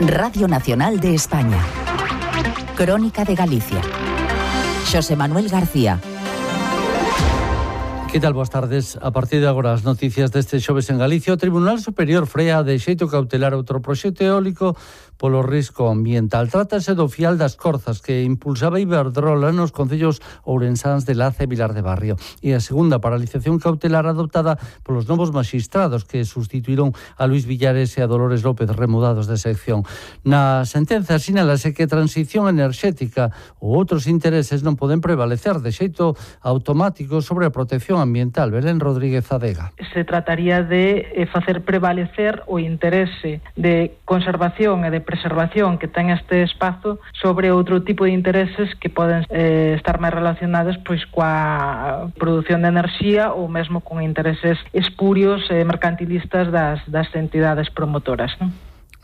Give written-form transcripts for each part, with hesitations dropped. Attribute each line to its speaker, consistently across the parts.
Speaker 1: Radio Nacional de España. Crónica de Galicia. Xosé Manuel García.
Speaker 2: Que tal? Boas tardes. A partir de agora as noticias deste xoves en Galicia. O Tribunal Superior frea de xeito cautelar outro proxecto eólico polo risco ambiental. Trátase do fial das Corzas que impulsaba Iberdrola nos concellos ourensáns de Laza e Vilar de Barrio. E a segunda paralización cautelar adoptada polos novos maxistrados que sustituíron a Luis Villares e a Dolores López, remudados de sección. Na sentenza sinálase que a transición enerxética ou outros intereses non poden prevalecer de xeito automático sobre a protección ambiental. Belén Rodríguez Adega.
Speaker 3: Se trataría de facer prevalecer o interese de conservación e de preservación que ten este espazo sobre outro tipo de intereses que poden estar máis relacionados pois coa produción de enerxía ou mesmo con intereses espurios mercantilistas das entidades promotoras, non?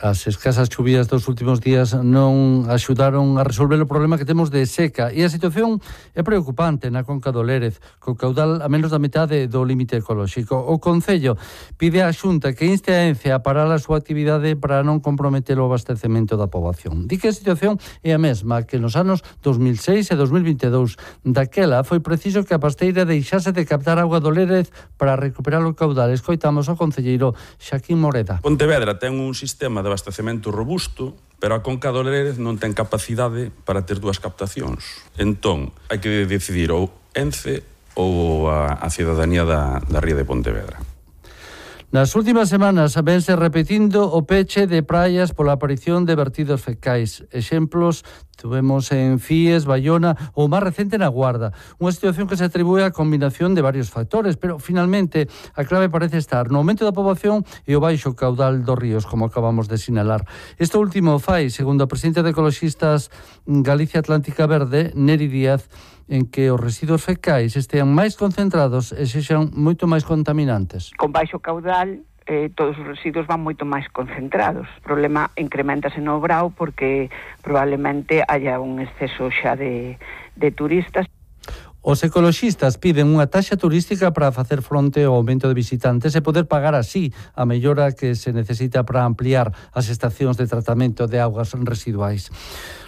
Speaker 2: As escasas chuvías dos últimos días non axudaron a resolver o problema que temos de seca e a situación é preocupante na Conca do Lérez, co caudal a menos da metade do límite ecolóxico. O Concello pide á Xunta que inste a Ence a parar a súa actividade para non comprometer o abastecemento da poboación. Di que a situación é a mesma que nos anos 2006 e 2022. Daquela foi preciso que a pasteira deixase de captar auga do Lérez para recuperar o caudal. Escoitamos ao concelleiro Xaquín Moreda.
Speaker 4: Pontevedra ten un sistema de abastecemento robusto, pero a Conca do Lérez non ten capacidade para ter dúas captacións. Entón, hai que decidir ou Ence ou a cidadanía da ría de Pontevedra.
Speaker 2: Nas últimas semanas vense repetindo o peche de praias pola aparición de vertidos fecais. Exemplos tuvemos en Fies, Baiona ou máis recente na Guarda. Unha situación que se atribúe á combinación de varios factores, pero finalmente a clave parece estar no aumento da poboación e o baixo caudal dos ríos, como acabamos de sinalar. Isto último fai, segundo a presidenta de Ecoloxistas Galicia Atlántica Verde, Neri Díaz, en que os residuos fecais estean máis concentrados e sexan moito máis contaminantes.
Speaker 5: Con baixo caudal, todos os residuos van moito máis concentrados. O problema incrementase no Brao porque probablemente haya un exceso xa de turistas.
Speaker 2: Os ecoloxistas piden unha taxa turística para facer fronte ao aumento de visitantes e poder pagar así a mellora que se necesita para ampliar as estacións de tratamento de augas residuais.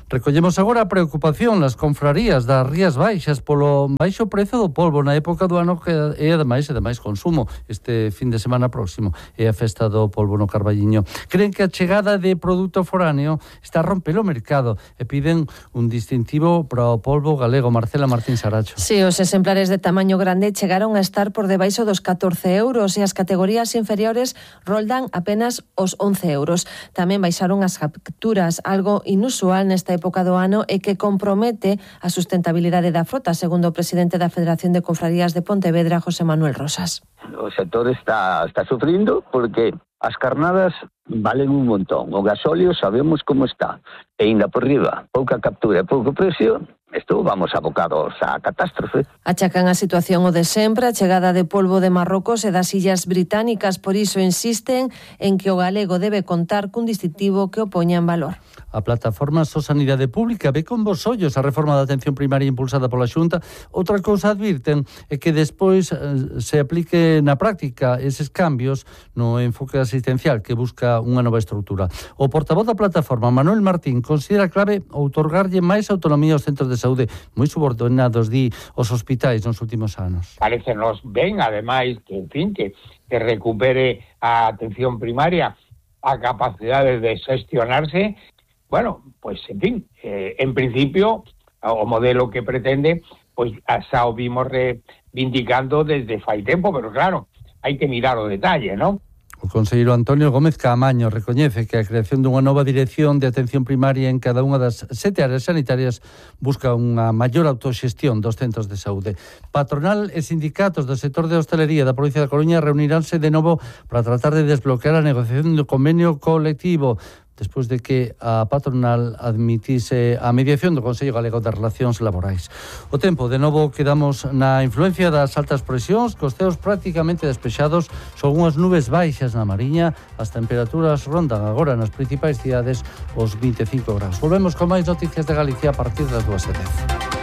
Speaker 2: Recollemos agora a preocupación nas confrarías das Rías Baixas polo baixo prezo do polvo na época do ano que é ademais de máis consumo. Este fin de semana próximo é a festa do polvo no Carballiño. Creen que a chegada de produto foráneo está a romper o mercado e piden un distintivo para o polvo galego. Marcela Martín Saracho.
Speaker 6: Sí, os exemplares de tamaño grande chegaron a estar por debaixo dos 14 euros e as categorías inferiores roldan apenas os 11 euros. Tamén baixaron as capturas, algo inusual nesta época do ano e que compromete a sustentabilidade da frota, segundo o presidente da Federación de Confrarías de Pontevedra, José Manuel Rosas.
Speaker 7: O sector está sufrindo porque as carnadas valen un montón. O gasóleo sabemos como está. E ainda por riba, pouca captura e pouco precio, isto vamos abocados á catástrofe.
Speaker 6: Achacan a situación o de sempre, a chegada de polvo de Marrocos e das illas británicas, por iso insisten en que o galego debe contar cun distintivo que o poña en valor.
Speaker 2: A plataforma Sanidade Pública ve con bos ollos a reforma da atención primaria impulsada pola Xunta. Outra cousa advirten é que despois se aplique na práctica eses cambios no enfoque asistencial que busca unha nova estrutura. O portavoz da plataforma, Manuel Martín, considera clave outorgarlle máis autonomía aos centros de saúde moi subordinados, di, os hospitais nos últimos anos.
Speaker 8: Parécenos ben, ademais, que, en fin, que recupere a atención primaria a capacidade de xestionarse. Bueno, pues, en fin, en principio, o modelo que pretende, pues, xa o vimos reivindicando desde fai tempo, pero claro, hai que mirar o detalle, ¿no?
Speaker 2: O conselleiro Antonio Gómez Caamaño recoñece que a creación dunha nova dirección de atención primaria en cada unha das 7 áreas sanitarias busca unha maior autoxestión dos centros de saúde. Patronal e sindicatos do sector de hostalería da provincia da Coruña reuniránse de novo para tratar de desbloquear a negociación do convenio colectivo despois de que a patronal admitise a mediación do Consello Galego de Relacións Laborais. O tempo, de novo, quedamos na influencia das altas presións, cos ceos prácticamente despexados, son unhas nubes baixas na Mariña, as temperaturas rondan agora nas principais cidades os 25 graus. Volvemos con máis noticias de Galicia a partir das 2:10.